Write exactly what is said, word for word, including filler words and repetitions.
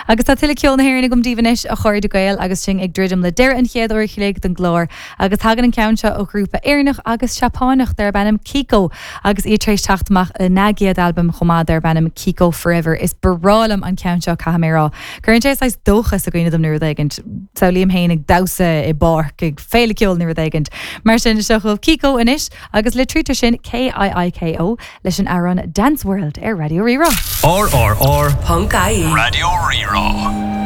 Agus tá tuilleadh ceol na hÉireann agam daoibh anois a chairde Gael agus sinn ag druidim le deireadh an chéad uair a chloig den gclár agus tagann an ceann seo ó ghrúpa Éireannach agus Seapánach darb ainm Kiko agus iad tar éis teacht amach lena gcéad albam chomh maith darb ainm Kiko Forever is breá liom an ceann seo caithfidh mé a rá. Cuireann sé saghas dóchas i gcuimhne dom nó rud éigin samhlaím féin ag damhsa i bpáirc ag féile ceoil nó rud éigin. Mar sin seo chugaibh Kiko anois agus litrítear sin K I I K O leis an amhrán Dance World ar Raidió Rí-Rá. R R R Ponc I E. Raidió Rí-Rá.